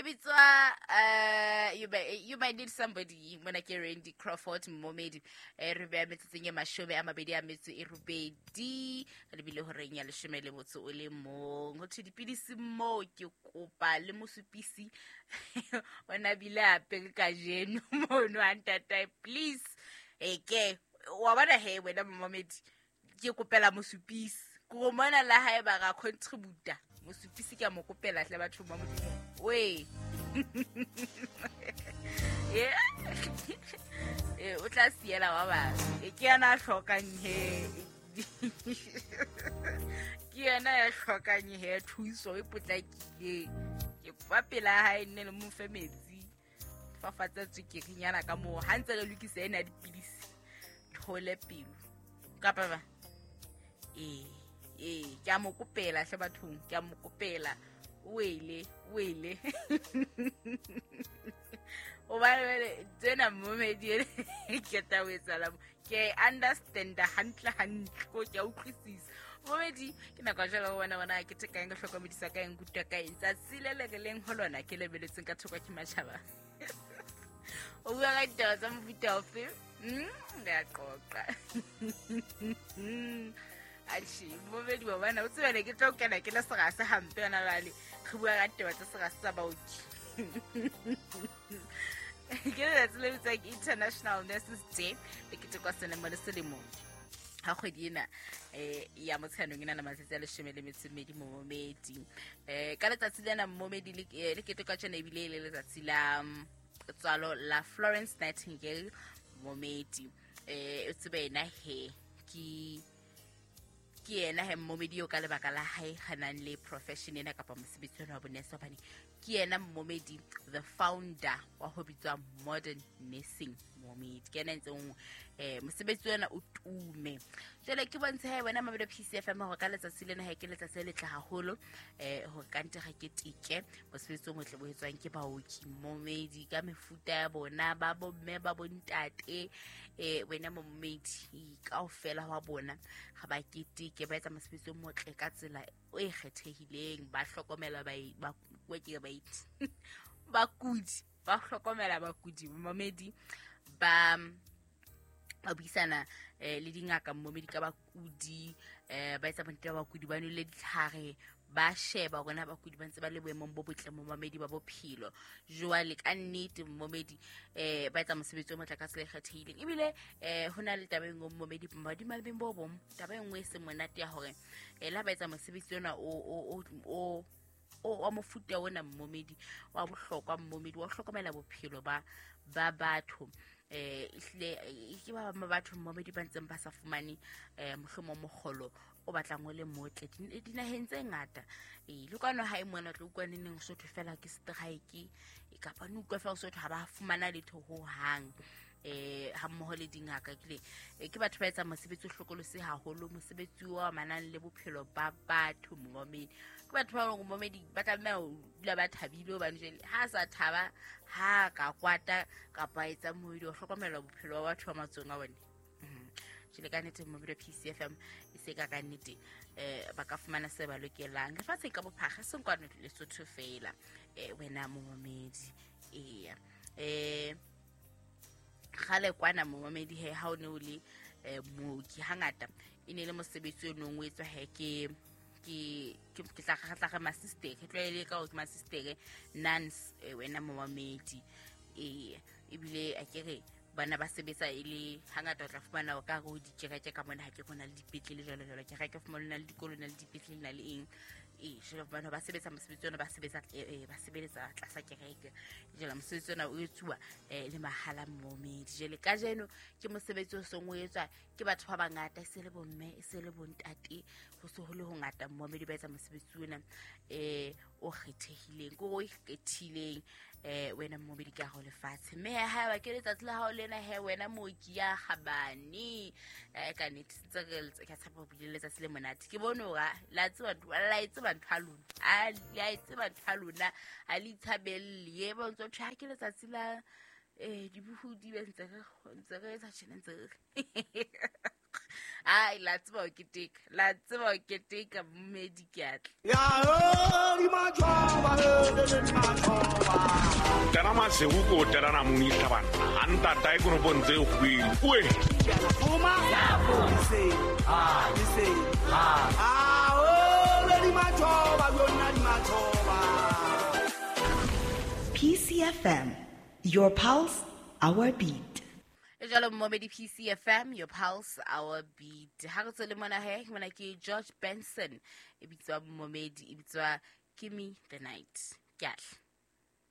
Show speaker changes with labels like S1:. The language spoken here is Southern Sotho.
S1: E bitswa you might need somebody. Mona ke Randy Crawford momedi. Re beya metsotsong e 28, re bile horeng ya 11. Ho thwe dipidisi moo ke kopa le mosupisi ona bile apere kajeno mono a ntatae, please. Ke wa bona he wena momedi, ke kopela mosupisi ko mona la hae ba ga contributa mosupisi ke a mo kopela hle batho ba Modimo we. O tla siela ba bang. Ke yena a hlokang he, ke yena ya hlokang he thuso e potlakileng. Ke kopa pela hae nne le mo fe metsi, fafatsa tswekerinyana ka moo ha ntse re lokisa ena ya dipidisi, thole pelo kapa ba ee ke a mo kopela hle bathong, ke a mo kopela. Wele wele hobane jwale tsena momedi ene ke tla o etsahala mo. Ke understanda hantle hantle, ko ke a utlwisisa momedi. Ke nako ya jwale ho bona bona ke theka eng, ke hlokomedisa ka eng, kutwa ka eng. Tsatsi le le re leng ho lona ke lebeletseng ka thoko ke matjhaba. O bua ka ditaba tsa mofuta ofe? Re a qoqa. Atjhe, momedi wa bona o tsebe ne ke tlo kena ke le serase hampe yona jwale. Re bua ka ditaba tsa serase tsa baoki. Ke letsatsi le bitswang International Nurses Day, le ketekwa selemo le selemo ha kgwedi ena ya Motsheanong e na le matsatsi a 12 momedi. Ka letsatsi lena momedi le ketekwa tjena ebile e le letsatsi la tswalo la Florence Nightingale momedi. O tsebe ena he ke yena he momedi eo ka lebaka la hae re nang le profession ena kapa mosebetsi ona wa bonese, hobane ke yena momedi the founder wa ho bitswa modern nursing momedi. Ke yena ntseng mosebetsi ona o tume. Jwale ke bontshe he wena Mabelo PCFM hore ka letsatsi lena he ke letsatsi le letle haholo, hore ka ntle re keteke mosebetsi o motle bo etswang ke baoki momedi ka mefuta ya bona, ba bomme ba bontate, wena momedi kaofela wa bona ga ba keteke, ba etsa mosebetsi o motle ka tsela e kgethehileng, ba hlokomela bakudi, ba hlokomela bakudi momedi, ba buisana le dingaka momedi ka bakudi, ba etsa bonnete ba bakudi ba nwele ditlhare, ba sheba hore na bakudi ba ntse ba le boemong bo botle momedi ba bophelo. Jwale ka nnete momedi ba etsa mosebetsi o motle ka tsela e kgethehileng. Ebile ho na le taba e nngwe momedi madimalebeng bo bong, taba e nngwe e seng monate ya hore la ba etsa mosebetsi ona o wa mofuta ona momedi wa bohlokwa momedi wa hlokomela bophelo ba batho. Ehlile ke ba bang ba batho momedi ba ntseng ba sa fumane mohlomong mokgolo o batlang o le motle dinaheng tse ngata. Le kwano ha e mona tlo utlwa neneng Sotho fela ke strike, kapa no utlwa fela Sotho ha ba fumana letho ho hang. Ha mmoho le dingaka ke ke batho ba etsang mosebetsi o hlokolosi haholo, mosebetsi o amanang le bophelo ba batho momedi. Ke batho ba bang momedi ba tlameha ho dula ba thabile hobane jwale ha sa thaba ha ka kwata kapa etsa moedi o hlokomela bophelo ba batho ba matsong a bone. Jwale ka nnete Mobile PCFM e se ka nnete ba ka fumana se ba lokelang lefatsheng ka bophara, seng kwano Lesotho fela. Wena momedi eya kgale kwana momedi he ha o ne o le mooki hangata e ne le mosebetsi o nong o etswa he ke tla re masistere, ke tlwaele ka hore ke masistere nuns, wena momedi. Ebile a ke re bana ba sebetsa e le hangata o tla fumana o ka re o dikereke ka mona, ha ke rona le dipetlele jwalo jwalo, kereke fumana na le dikolo na le dipetlele na le eng. Jwale bana ba sebetsa mosebetsi ona, ba sebetsa ba sebeletsa tlasa kereke. Jwale mosebetsi ona o etsuwa le mahala momedi. Jwale kajeno ke mosebetsi o seng o etswa ke batho ba bangata, e se le bomme, e se le bontate, ho se ho le ho ngata momedi ba etsa mosebetsi ona o kgethehileng, ke o ikgethileng wena momedi ka ho lefatshe. Mme ha ba ke letsatsi la hao lena he wena mooki ya kgabane, ka nnete ntse re ka tshepa ho bile letsatsi le monate. Ke bone hore la tseba la e tseba ntho ya lona, la e tseba ntho ya lona, ha le itshabelle. E ba ntso thwe ha ke letsatsi la dibohodi be ntse re etsa tjena ntse re ai la tseba ho keteka, la tseba ho keteka mmedi ke atla.
S2: Ya di matjhoba, le matjhoba. Masego ke o telana mong banna a ntata e konopong tse kgubedu oe.
S3: PCFM, your pulse, our beat.
S1: E jalo mmomedi, PCFM, your pulse, our beat. Ha re tswele mona he, mona ke George Benson, e bitswa mmomedi, e bitswa Gimme the Night. Ke atla.